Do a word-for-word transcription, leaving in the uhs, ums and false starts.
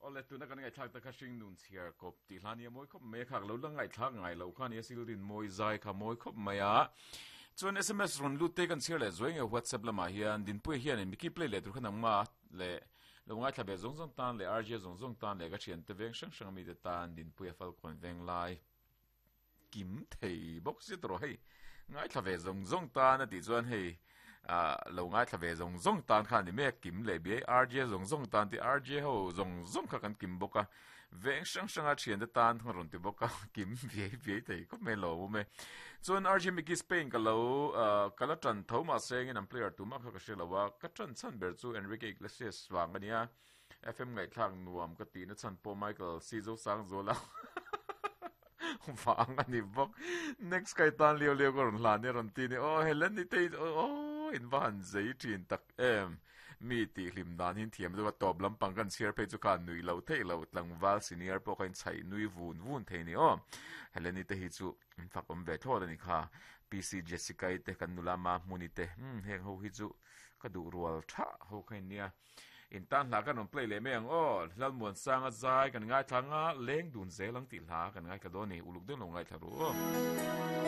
Ole tuna kan ngai thlak ta kha hring nun chhiar kop ti hlani a moi khop me khak lo la ngai thlak ngai lo kha ni sil rin moi zai kha moi khop mai a chuan S M S ron lut te kan chhiar le zoing e WhatsApp lama hian Dinpui hian in Miki play le tur khan ma le lo ngai thla be zong zong tan le R J zong zong tan le ka thian te veng sang sang mi te tan Dinpui a fal kon veng lai kim thei bok si tro hei ngai thla ve zong zong tan a ti chuan hei a lo ngai thla ve zong zong tan khan ni me kim le bi R J zong zong tan ti R J ho zong zong kha kan kim boka veng sang sang a thian te tan thang ron ti boka kim ve ve thei ko me lo me chuan R J Miki Spain ka lo kala tran tho ma seng in an player tu ma kha ka hre ka tran chan ber chu Enrique Iglesias wang ania F M ngai thlang nuam ka ti na chan po Michael Sizo sang zola wang ani bok next kai tan leo leo ko ron hlan ni ron ti ni o Helen ni te o in van zei thin tak em mi ti hlim dan hin thiam chu top lampang kan chhiar phei chu khan nui lo thei lo tlangwal senior pawh kha in chhai nui vun vun thei ni aw Heleni te hi chu in fak awm ve thlawt ani kha P C Jessica te kan nula ma hmuni te hmm heng ho hi chu ka duh rual tha ho kha in nia in tan hla kan rawn play leh mai ang aw Lalmuan sanga zai kan ngai thla nga leng dun zel ang tih hla kan ngai thla dawn ni uluk deuh lo ngai thla ru.